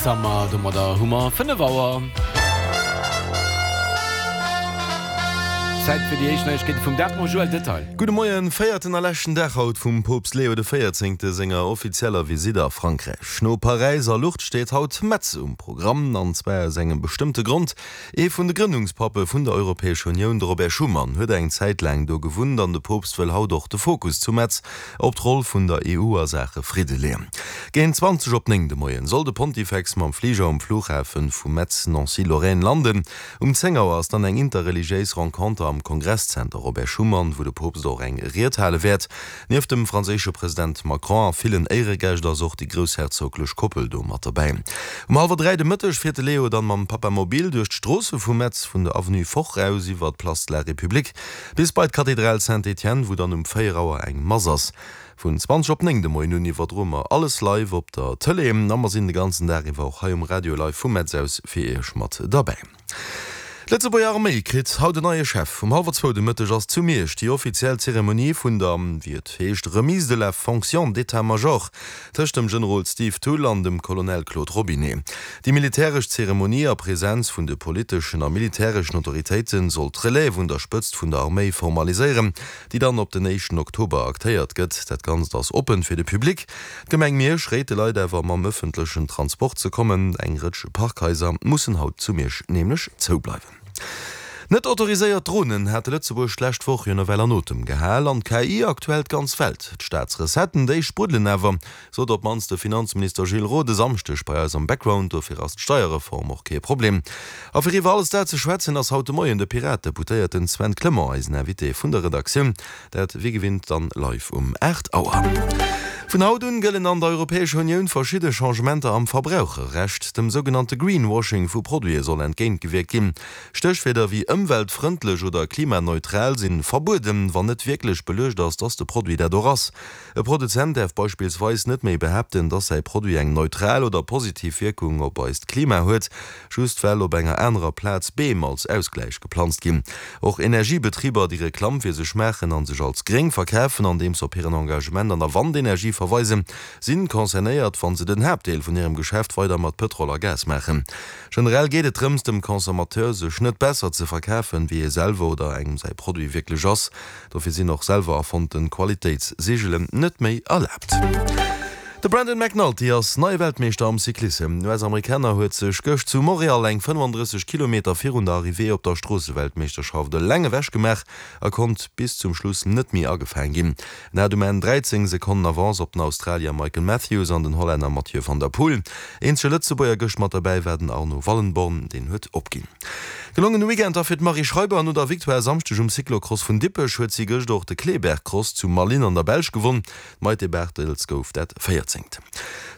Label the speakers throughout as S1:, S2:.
S1: Summer, domadder hu mer 5 Auer. Zäit fir déi éischt Neiegkeete vum Dag mam Joël Detail.
S2: Gudde Moien, Véierten a leschten Dag haut vum Poopst Leo de Véierzéngte senger offizieller Visitt a Frankräich. No Paräis a Lourdes steet haut Metz um Programm, an zwar aus engem bestëmmte Grond, Ee vun de Grënnungspappe vun der Europäescher Unioun, de Robert Schuman, huet eng Zäit laang do gewunnt an de Poopst wëll haut och de Fokus zu Metz op d'Roll vun der EU a Saache Fridde leeën. Géint 20 op 9 de Moien soll de Pontifex mam Fliger um Flughafe vu Metz-Nancy-Lorraine landen. Um 10 Auer ass dann eng interreligiéis Renconter am Kongresszenter Robert Schuman, wou de Poopst och eng Ried hale wäert. Nieft dem franséische President Macron a villen Éieregäscht ass och déi groussherzoglech Koppel do mat derbäi. Um hallwer 3 de Mëtteg fiert de Leo dann mam Papamobil duerch d'Stroosse vu Metz, vun der Avenue Foch aus iwwer d'Place de la République bis bei d'Kathedral Saint-Étienne, wou dann um 4 Auer eng Mass ass. Vun 20 op 9 de Moien un iwwerdroe mer alles live op der Tëlee a mer sinn de ganzen Dag iwwer och hei um Radio live vu Metz aus fir Iech mat derbäi. D'Lëtzebuerger Arméi kritt haut en neie Chef. Um hallwer zwou de Mëtteg ass zu Miersch déi offiziell Zeremonie vun der, wéi et heescht, Remise de la fonction d'état-major tëscht dem Generol Steve Thull an dem Colonel Claude Robinet. Déi militäresch Zeremonie a Presenz vun de politeschen a militäreschen Autoritéite soll d'Relève un der Spëtzt vun der Arméi formaliséieren, déi dann op den éischten Oktober aktéiert gëtt. Dat Ganzt ass oppen fir de Public. D'Gemeng Miersch réit de Leit awer mam ëffentlechen Transport ze kommen. Eng Rëtsch Parkhaiser mussen haut zu Miersch nämlech zou bleiwen. Net autoriséiert Dronen hate Lëtzebuerg d'lescht Woch jo nawell an Otem gehal an d'KI aktuell d'ganz Welt. D'Staatsrecetten, déi spruddelen awer, sot op d'mannst de Finanzminister Gilles Roth e Samschdeg bei eis am Background. Dofir ass d'Steierreform och kee Problem. A fir iwwer alles dat ze schwätzen, ass haut de Moien de Pirat-Deputéierten Sven Clement eisen Invité vun der Redaktioun. Dat wéi gewinnt dann live um 8 Auer. Vun haut un gëllen an der Europäescher Unioun verschidde Changementer am Verbraucherrecht. Dem sougenannte Greenwashing vu Produite soll entgéintgewierkt ginn. Stéchwierder wéi ëmweltfrëndlech oder klimaneutral sinn verbueden, wann net wierklech beluecht ass, dass de Produit dat och ass. E Produzent däerf beispillsweis net méi behaapten, dass säi Produit eng neutral oder positiv Wierkung op eist Klima huet, just well op enger anerer Plaz Beem als Ausgläich geplanzt ginn. Och Energiebetriber, déi Reklamm fir sech maachen a sech als gréng verkafen, andeems se op hiren Engagement an der Wandenergie verweisen, sinn concernéiert, wa se den Haaptdeel vun hirem Geschäft weider mat Pëtrol a Gas maachen. Generell geet et drëms, dem Consommateur sech net besser ze verkafen, wéi ee selwer oder engem säi Produit wierklech ass. Dofir sinn och selwer erfonnten Qualitéitssigelen net méi erlaabt. De Brandon McNulty ass neie Weltmeeschter am Cyclissem. Den US-Amerikaner huet sech gëscht zu Montréal eng 35 Kilometer virun der Arrivée op der Stroosseweltmeeschterschaft eleng ewech gemaach a konnt bis zum Schluss net méi agefaang ginn. En hat um Enn 13 Sekonnen Avance op den Australier Michael Matthews an den Hollänner Mathieu van der Poel. Eenzege Lëtzebuerger gëscht mat derbäi war den Arno Wallenborn, deen huet opginn. Gelongene Weekend da fir d'Marie Schreiber. No der Victoire e Samschdeg um Cyclocross vun Dippech huet si gëscht och de Kleebergcross zu Malines an der Belsch gewonn. D'Maïté Barthels gouf dat Véierzéngt.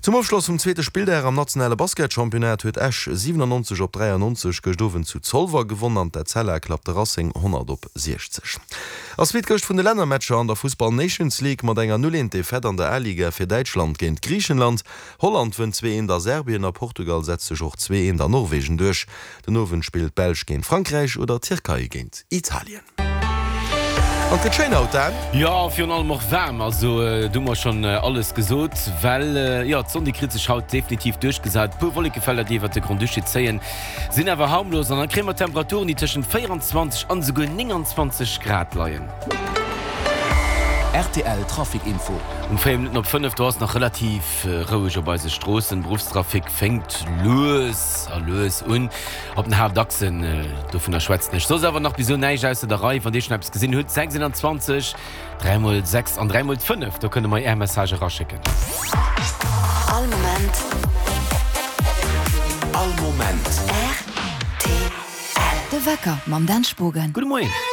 S2: Zum Ofschloss vum zweete Spilldag am nationale Basketchampionnat huet Esch 97 op 93 gëscht Owend zu Zolwer gewonn an d'Etzella klappt de Racing 100 op 60. Ass wéi d'Gëscht vun de Lännermatcher an der Fussball Nations League mat enger 0 1 Defaite an der A-Liga fir Däitschland géint Griichenland. Holland wënnt 2 1 a Serbien a Portugal setzt sech och 2 1 a Norwegen duerch. Den Owend spillt d'Belsch géint Frankräich oder d'Tierkei géint Italien. An et gëtt schéin haut, Dan.
S1: Jo, virun allem och waarm. Also do hu mer schonn alles gesot, well jo d'Sonn déi kritt sech haut definitiv duerchgesat. E puer Wollekefelder déi iwwert de Grand-Duché zéien, sinn awer harmlos an da kréie mer Temperaturen déi tëschent 24 an esouguer 29 Grad leien.
S3: Rtl Trafic Info.
S1: Um 4 Minutten op 5, do ass nach relativ roueg op eise Stroossen. Beruffstrafic fénkt lues a lues un op den Haaptachsen. Dovunner schwätzen ech soss awer nach bis elo näischt ausser der Rei. Wann Dir schonn eppes gesinn hutt, 6 21 3 mol 6 an 3 mol 5, do kënne mer Är Message eraschécken.
S4: All Moment.
S3: All Moment.
S4: Rtl. De Wecker mam Dan Spogen.
S1: Gudde Moien.